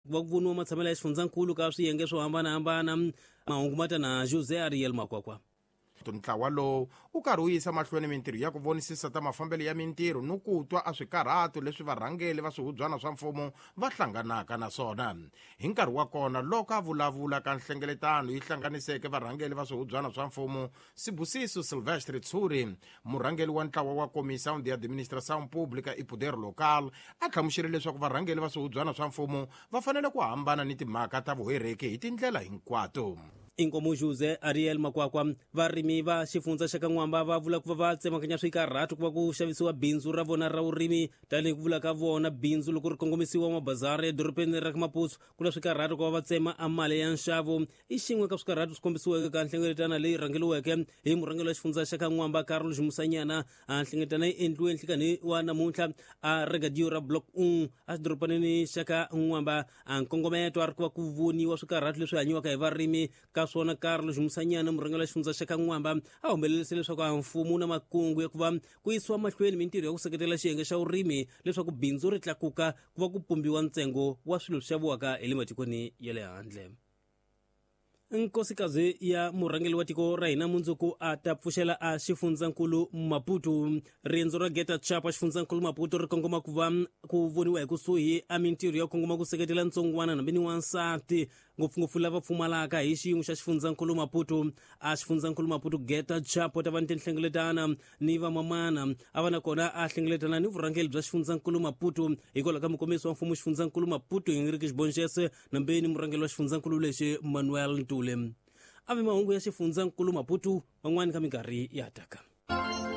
Ku va ku voniwa matshamelo ya xifundzankulu ka swiyenge swo hambanahambana. Mahungu ma ta na Jose Ariel Makwakwa. Ntlawa lowu wu karhi wu yisa mahlweni mintirho ya ku vonisisa ta mafambelo ya mintirho ni ku twa a swikarhato leswi varhangeli va swihubyana swa mfumo va hlanganaka na swona. Hi nkarhi wa kona loko a vulavula ka nhlengeletano yi hlanganiseke varhangeli va swihubyana swa mfumo, Sibusiso Silvestre Tshuri, murhangeli wa ntlawa wa Comissão de Administração Pública e Poder Local, a hlamusele leswaku varhangeli va swihubyana swa mfumo va fanele ku hambana ni timhaka ta vuhereki hi tindlela hinkwato. Inkomu Jose Ariel Makwakwa. Varimi va xifundza xa ka N'wamba va vula ku va va tsemakanya swikarhato ku va ku xavisiwa bindzu ra vona ra vurimi. Tanihi ku vula ka vona, bindzu loko ri kongomisiwa mabazara edorobeni ra ka Maputo, ku na swikarhato ku va va tsema a mali ya nxavo. I xin'we ka swikarhato swi kombisiweke ka nhlengeletano leyi rhangeriweke hi murhangeri wa xifundza xa ka N'wamba Carlos Musanyana. A nhlengeletano yi endliwe nhlikanhi wa namuntlha a regadio ra Block 1 a xidorobanini xa ka N'wamba. A nkongometo a ri ku va ku voniwa swikarhato leswi hanyiwaka hi varimi ka swona. Carlos Musanyana, murhangeri wa xifundza xa ka N'wamba, a humelelise leswaku a mfumo wu na makungu ya ku va ku yisiwa mahlweni mintirho ya ku seketela xiyenge xa vurimi leswaku bindzu ri tlakuka ku va ku pumbiwa ntsengo wa swilo swi xaviwaka hi le matikweni ya le handle. Nkosikazi ya murhangeri wa tiko ra hina mundzuku a ta pfuxela a xifundzankulu Maputo. Riendzo ra Geta Chapa xifundzankulu Maputo ri kongoma ku va ku voniwa hi kusuhi a mintirho ya kongoma ku seketela ntsongwana hambi ni wansati, ngopfungopfu lava pfumalaka hi xiyimo xa xifundzankulu Maputo. A xifundzankulu Maputo Geta Chapo ta va ni tinhlengeletana ni vamamana a va na kona a hlengeletana ni vurhangeri bya xifundzankulu Maputo hikwalaho ka mukombisi wa mfumo xifundzankulu Maputo Henrique Xibonxese nambeni murhangeri wa xifundzankulu lexi Manuel Ntuli. A vi mahungu ya xifundzankulu Maputo man'wani ka minkarhi ya taka.